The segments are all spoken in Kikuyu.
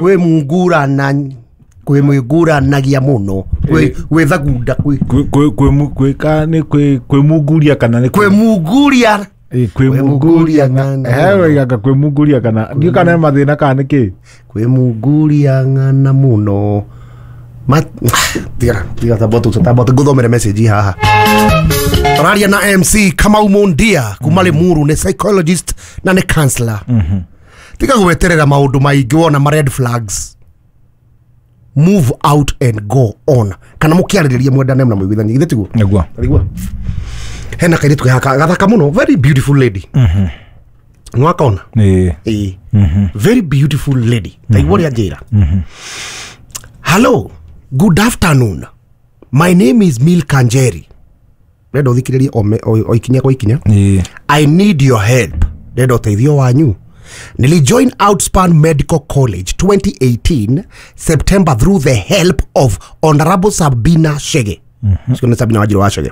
Kwĩ mungurana, kwĩ mwĩnguranagia mũno, gwĩ thagunda, kwĩ Kwĩ nĩ kwĩ munguria kana nĩ kwĩ munguria. Kwĩ munguria ng'ana. He waigaga kwĩ munguria kana ndiũ kana nĩ mathĩna kana nĩ kĩ? Kwĩ munguria ng'ana mũno. Tiga tiga, tamba ngũthomere message haha. Tũraria na MC Kamau Mundia kuma Limuru, nĩ psychologist na nĩ counselor. Tiga gweterera maũndũ maingĩ wona ma red flags, move out and go on, kana mũkĩarĩrĩria mwendane na mũiguithanie, githĩ tiguo? Nĩguo. Tarigua hena kairĩtu gaka gathaka mũno, very beautiful lady, nwakona? Ĩĩ. Ĩĩ, very beautiful lady. Taigua ũrĩa njĩra: "Hello, good afternoon, my name is Milka Njeri." Ndenda ũthikĩrĩrie o ikinya kwa ikinya. "I need your help." Ndenda ũteithio wanyu. "Nilijoin Outspan Medical College 2018 September through the help of Honorable Sabina Shege." Mm-hmm. Sabina Wanjiru wa Chege.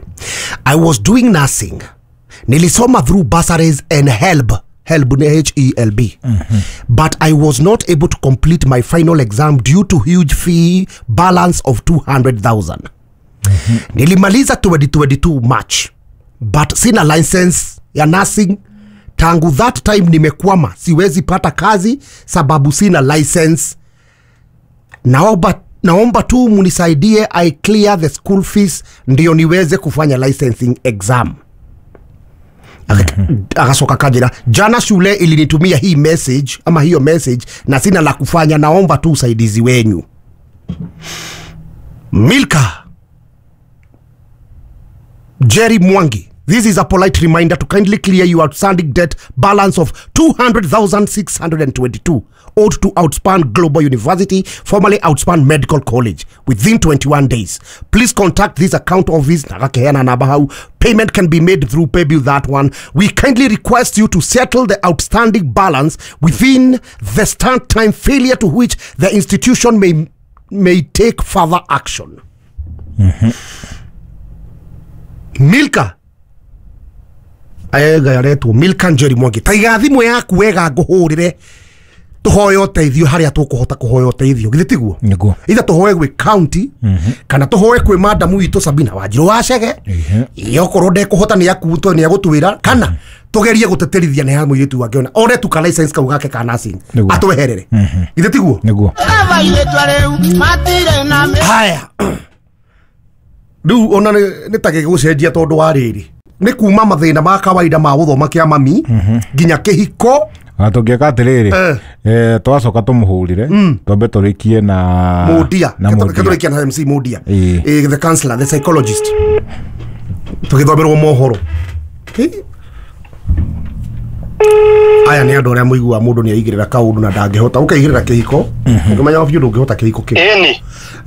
"I was doing nursing. Nilisoma through bursaries and HELB." HELB ni HELB. "But I was not able to complete my final exam due to huge fee balance of 200,000. Nilimaliza 2022 March, but sina license ya nursing. Tangu that time nimekwama, siwezi pata kazi sababu sina license. Naomba tu munisaidie I clear the school fees ndio niweze kufanya licensing exam." Akasoka kajira: "Jana shule ilinitumia hii message ama hiyo message na sina la kufanya. Naomba tu usaidizi wenyu." Milka Jerry Mwangi, this is a polite reminder to kindly clear your outstanding debt balance of 200,622 owed to Outspan Global University, formerly Outspan Medical College, within 21 days. Please contact this account office. Nakakeana namba hau. Payment can be made through paybill that one. We kindly request you to settle the outstanding balance within the start time, failure to which the institution may take further action. Milka ega yaretwo Milka Njeri Mwangi, taiga thimũ yaku wega ngũhũrĩre tũhoe ũteithio harĩa tũkũhota kũhoya ũteithio, githĩ tiguo? Nĩguo. Itha tũhoe gwĩ county kana tũhoe kwĩ madamu witũ Sabina Wanjiru wa Chege. Ĩ, okorwo ndekũhota nĩ akuto nĩ agũtwĩra kana tũgerie gũteterithia nĩ ha mũirĩtu wake ona one tu ka license kau gake ka nursing atweherere, githĩ tiguo? Nĩguo. Haya, rĩu ona nĩ ta gĩgũcenjia tondũ wa rĩrĩ nĩ kuma mathĩna ma kawaida ma gũthoma kĩa mami nginya kĩhiko. Na tũngĩka atĩrĩrĩ, twacoka tũmũhũrĩre twambe tũrĩkie na Mundia. Na Mundia. Ketũrĩkia na MC Mundia. Ĩĩ. The counselor, the psychologist, tũgĩthomerwo mohoro. Aya nĩ andũ arĩa mũiguaga mũndũ nĩ aigĩrĩra kaũndũ na ndangĩhota, ũkaigĩrĩra kĩhiko ũkĩmenya biũ ndũngĩhota kĩhiko kĩu. Ĩni.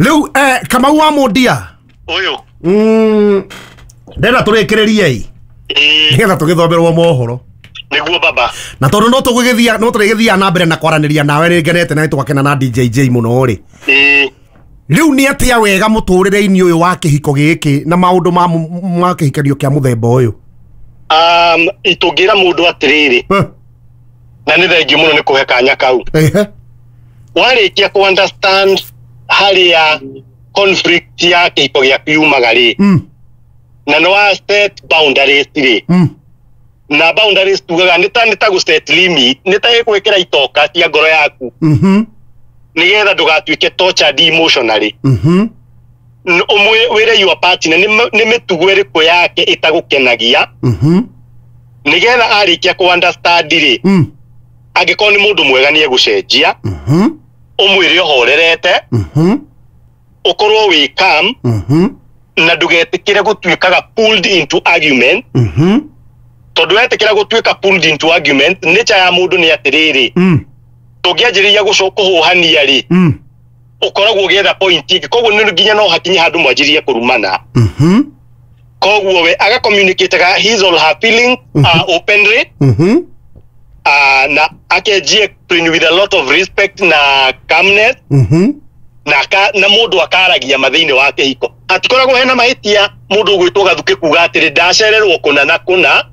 Rĩu Kamau wa Mundia. Ũyũ. Ndenda tũrĩkĩrĩrie ĩ nĩgetha tũgĩthomerwo mohoro. Nĩguo baba. Na tondũ no tũgũgĩthia, no tũrĩgĩthia na mbere na kwaranĩria nawe, nĩ ngenete na nĩtwakena na DJJ mũno rĩ. Rĩu nĩ atĩa wega mũtũrĩre-inĩ ũyũ wa kĩhiko gĩkĩ na maũndũ ma kĩhikanio kĩa mũthemba ũyũ? Tũngĩra mũndũ atĩrĩrĩ, na nĩ thengiũ mũno nĩ kũhe kanya kau. Warĩkia kũ understand harĩa conflict ya kĩhiko gĩaku yumaga rĩ, na nĩ wa set boundaries rĩ, na boundaries tugaga nĩ ta gũ set limit, nĩ ta gwĩkĩra itoka cia ngoro yaku nĩgetha ndũgatuĩke tortured emotionally. Wĩre your partner nĩ mĩtugo ĩrĩkũ yake ĩtagũkenagia, nĩgetha arĩkia kũ understand rĩ, angĩkorwo nĩ mũndũ mwega nĩ egũcenjia. Ũmwĩre ũhorerete, ũkorwo wĩ calm na ndũgetĩkĩre gũtuĩkaga pulled into argument, tondũ wetĩkĩra gũtuĩka pulled into argument, nature ya mũndũ nĩ atĩrĩrĩ, tũngĩanjĩrĩria kũhũhania rĩ, ũkoragwo ũgĩetha point ĩngĩ, koguo nĩ nginya no hakinye handũ mwanjĩrĩrie kũrumana. Koguo we aga communicate his or her feeling openly, na akenjie explain with a lot of respect na calmness, na mũndũ akaragia ma thĩinĩ wa kĩhiko. Hatikoragwo hena mahĩtia mũndũ ũgwĩtwo gathukĩ kuga atĩrĩ ndacererwo kũna na kũna,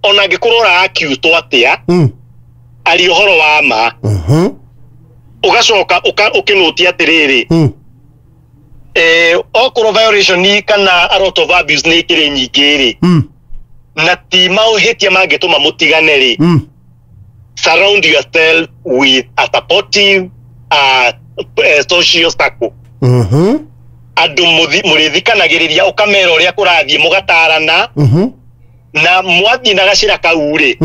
ona angĩkorwo ũra accused atĩa, aria ũhoro wa ma. Ũgacoka ũkĩnũtia atĩrĩrĩ, okorwo violation kana a lot of abuse nĩ ikĩrĩ nyingĩ rĩ, na ti maũhĩtia mangĩtũma mũtigane rĩ, surround yourself with a supportive social circle. Andũ mũrĩthikanagĩrĩria, ũkamera ũrĩa kũrathiĩ, mũgatarana, na mwathiĩ na gacĩra kau rĩ,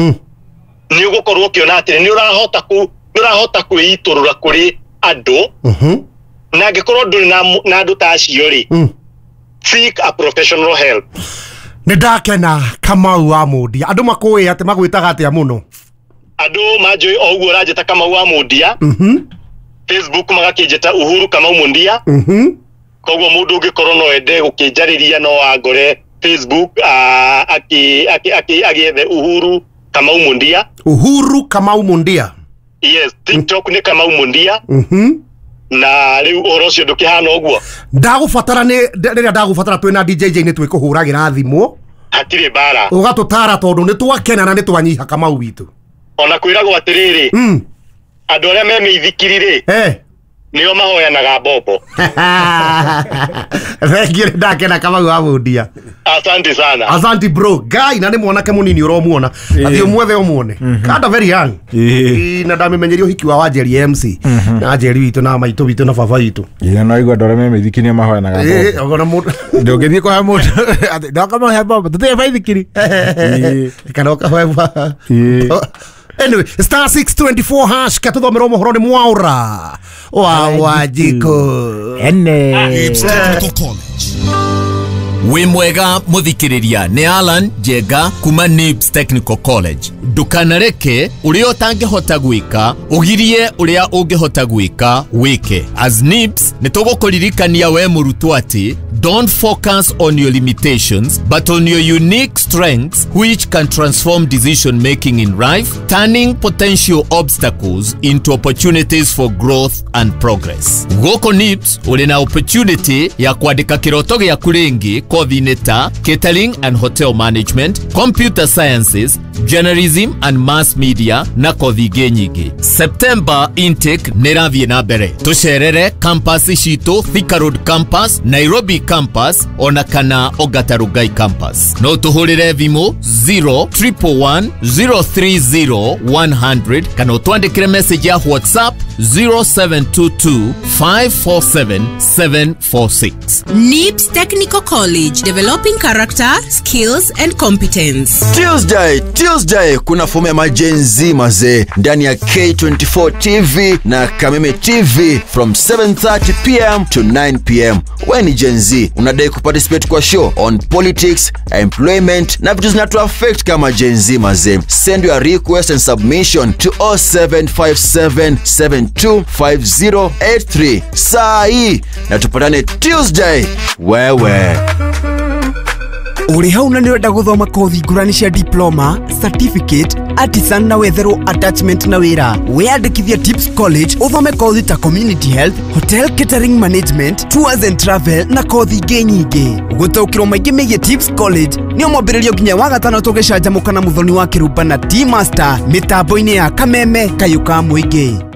nĩ ũgũkorwo ũkĩona atĩrĩ nĩ ũrahota kwĩitũrũra kũrĩ andũ, na angĩkorwo ndũrĩ na andũ ta acio rĩ, seek a professional help. Nĩ ndakena Kamau wa Mundia. Andũ makũĩ atĩ magwĩtaga atĩa mũno? Andũ manjũĩ o ũguo ũranjĩta Kamau wa Mundia. Facebook magakĩnjĩta Uhuru Kamau Mundia. Koguo mũndũ ũngĩkorwo no ende gũkĩnjarĩria no angore Facebook, agĩethe Uhuru Kamau Mundia. Uhuru Kamau Mundia. Yes, TikTok nĩ Kamau Mundia. Na rĩu ũhoro ũcio ndũkĩhana ũguo. Ndagũbatara nĩ rĩrĩa ndagũbatara twĩna DJ J nĩ twĩkũhũragĩra thimũ. Hatirĩ mbara. Ũgatũtara tondũ nĩ twakena na nĩ twanyiha Kamau witũ. Ona kwĩragwo atĩrĩrĩ, andũ arĩa me mĩithikiri rĩ, nĩo mahoyanaga mbombo. Thengiũ, nĩ ndakena Kamau wa Mundia. Asante sana. Asante bro. Guy, na nĩ mwanake mũnini ũromuona. Athiĩ ũmwethe ũmuone. Kanda very young. Na ndamĩmenyeria ũhiki wa Wanjeri MC. Na Wanjeri witũ na maitũ witũ na baba witũ. Ĩĩ, no igua andũ arĩa me mĩithikiri nĩo mahoyanaga mbombo. Ona mũndũ ndũngĩthiĩ kũhe mũndũ atĩ ndoka mahe mbombo, tũtirĩ baithikiri. Kana ũkahoe. Anyway, star 624 hash katuthomerwo mohoro nĩ Mwaura wa Wanjikũ. Ene. Technical College. Wĩ mwega mũthikĩrĩria, nĩ Alan Njenga kuma Nibs Technical College. Ndũkanareke ũrĩa ũtangĩhota gwĩka ũgirie ũrĩa ũngĩhota gwĩka wĩke. As Nibs nĩ tũgũkũririkania we mũrutwo atĩ don't focus on your limitations but on your unique strengths which can transform decision making in life, turning potential obstacles into opportunities for growth and progress. Gũkũ Nibs ũrĩ na opportunity ya kwandĩka kĩroto gĩaku rĩngĩ kothi-inĩ ta catering and hotel management, computer sciences, journalism and mass media na kothi ingĩ nyingĩ. September intake nĩ ĩrathiĩ na mbere. Tũcerere campus citũ, Thika Road campus, Nairobi campus ona kana Ongata Rongai campus. No tũhũrĩre thimũ 0 111 030 100 kana ũtwandĩkĩre message ya WhatsApp 0722 547 746. NIBS Technical College, developing character, skills and competence. Tuesday kuna fomu ya maGen Z mazee ndani ya K24 TV na Kameme TV from 7:30 pm to 9 pm. We ni Gen Z, unadai kuparticipate kwa show on politics, employment na vitu zinatu affect kama Gen Z mazee. Send your request and submission to 0757725083 saa hii na tupatane Tuesday. Wewe Ũrĩ hau na nĩ ũrenda gũthoma kothi ngũrani cia diploma, certificate, artisan na wetherwo attachment na wĩra. Wĩyandĩkithie Tips College ũthome kothi ta community health, hotel catering management, tours and travel na kothi ingĩ nyingĩ. Gũtaũkĩrwo maingĩ megiĩ Tips College nĩ mwambĩrĩrio nginya wa gatano tũgĩcanjamũka na Mũthoni wa Kĩrumba na T Master mĩtambo-inĩ ya Kameme Kayũ ka Mũingĩ.